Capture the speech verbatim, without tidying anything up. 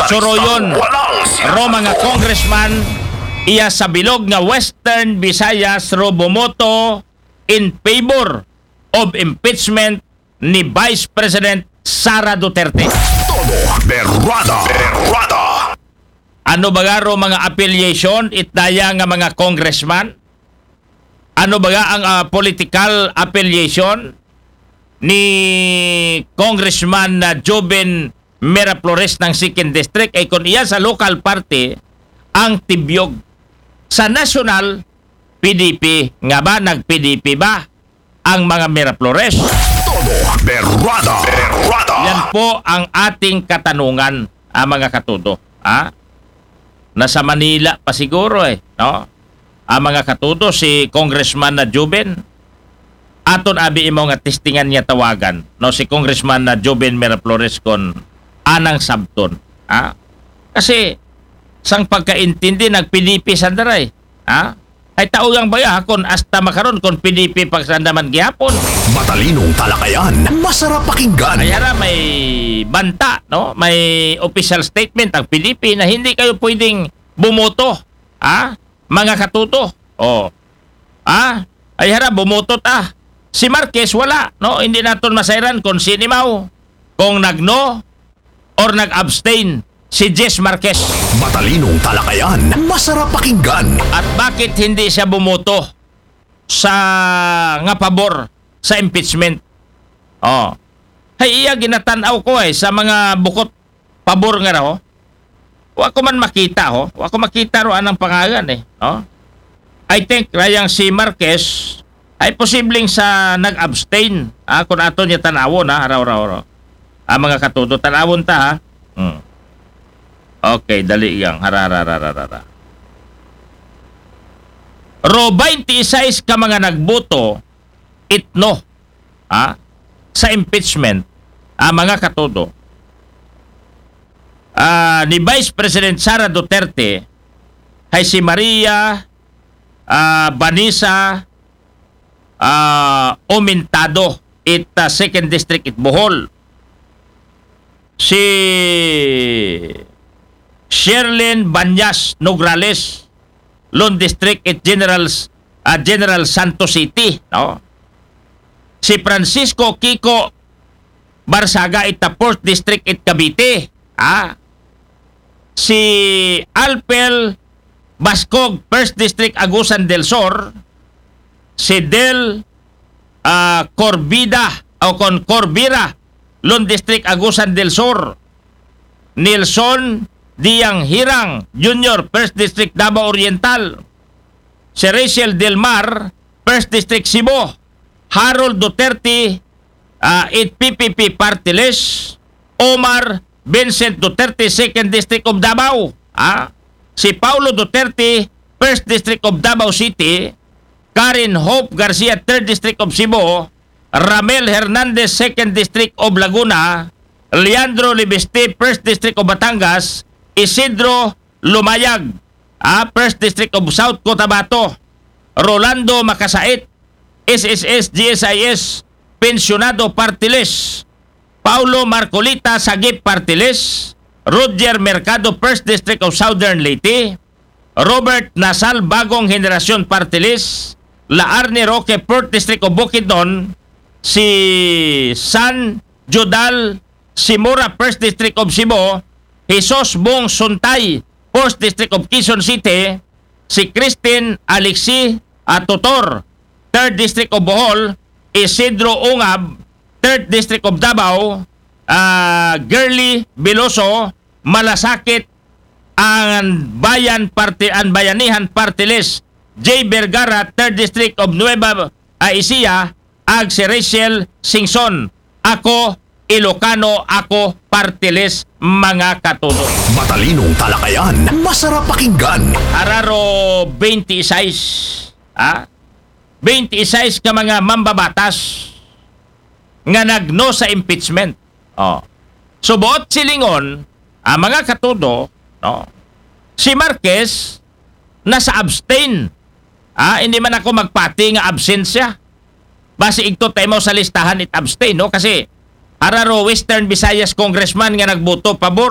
Suruyon ro mga congressman iya sa bilog nga Western Visayas ro bumoto in favor of impeachment ni Vice President Sara Duterte. Todo berrada, berrada. Ano baga ro mga affiliation it daya nga mga congressman? Ano baga ang ah, political affiliation ni Congressman na Joven Miraflores ng Second District? Ay kung iya sa local party ang tibyog, sa national, P D P. Nga ba, nag-P D P ba ang mga Miraflores? Todo berrada, berrada. Yan po ang ating katanungan, ah, mga katudo. Ha? Nasa Manila pa siguro eh, no? Ang mga katudo, si Congressman na Joven, aton abi imo nga testingan niya tawagan, no, si Congressman na Joven Miraflores kon anang sabton. Ha? Kasi sang pagkaintindi, nag-P D P sandaray. Ha? Ay tao yang baya kon hasta makaron kon P D P pagsandaman gihapon. Matalinong talakayan, masarap pakinggan. Ay hara, may banta, no? May official statement ang P D P na hindi kayo pwedeng bumoto, ha? Mga katuto. Oh. Ha? Ay hara, bumoto ta. Si Marquez wala, no? Hindi naton masayran kung sinimaw, kung nagno or nag-abstain si Jess Marquez. Matalinong talakayan, masarap pakinggan. At bakit hindi siya bumoto sa nga pabor sa impeachment? Oh. Hay iya ginatanaw ko eh sa mga bukot pabor nga raw. Wa ko man makita ho. Wa ko makita ro anang pangalan eh, no? I think rayang si Marquez ay posibleng sa nag-abstain. Ah, kung ato niya tanawon ha, raw raw raw. Ah, mga katudo, tanawon ta ha. Hmm. Okay, dali yang. Hara, hara, hara, hara, hara. Ro twenty-six ka mga nagboto, itno, ha, sa impeachment, ah, mga katudo. Ah, ni Vice President Sara Duterte, hay si Maria, ah, Vanessa, ah, Aumentado, it ah, Second District, it Bohol. Si Sherlyn Banyas Nograles, Lone District, it General, ah, General Santos City, no? Si Francisco Kiko Barsaga, it ah, Fourth District, it Cavite, ha? Si Alpel Bascog, First District, Agusan del Sur. Si Del ah, Corbida o kon Corbira, Lone District, Agusan del Sur. Nelson Diang Hirang Junior, First District, Davao Oriental. Si Rachel Del Mar, First District, Cebu. Harold Duterte, ah, it P P P party list. Omar Vincent Duterte, Second District of Davao. Ah, si Paulo Duterte, First District of Davao City. Karen Hope Garcia, Third District of Cebu. Ramel Hernandez, Second District of Laguna. Leandro Libiste, First District of Batangas. Isidro Lumayag, ah, First District of South Cotabato. Rolando Makasait, S S S G S I S, Pensionado Party List. Paulo Marcolita, Sagip Party List. Roger Mercado, First District of Southern Leyte. Robert Nasal, Bagong Henerasyon Party List. Laarne Roque, Fourth District of Bukidnon. Si San Judal Simora, First District of Cebu. Jesus Bong Suntay, Fourth District of Quezon City. Si Christine Alexi Atutor, Third District of Bohol. Isidro Ungab, Third District of Davao. Ah, Girly Veloso, Malasakit, ang Bayan Party, ang Bayanihan Party List. Jay Vergara, Third District of Nueva Ecija, ag si Rachel Singson. Ako Ilocano, ako Party List, mga katudo. Matalinong talakayan, masarap pakinggan. Araro twenty-six, ha? Twenty-six ka mga mambabatas nga nagno sa impeachment. Oh. So, buot silingon, ang mga katudo, no? Si Marquez nasa abstain. Ah, hindi man ako magpati nga absent siya. Basi igto tayo mo sa listahan it abstain, no? Kasi araro Western Visayas congressman nga nagboto pabor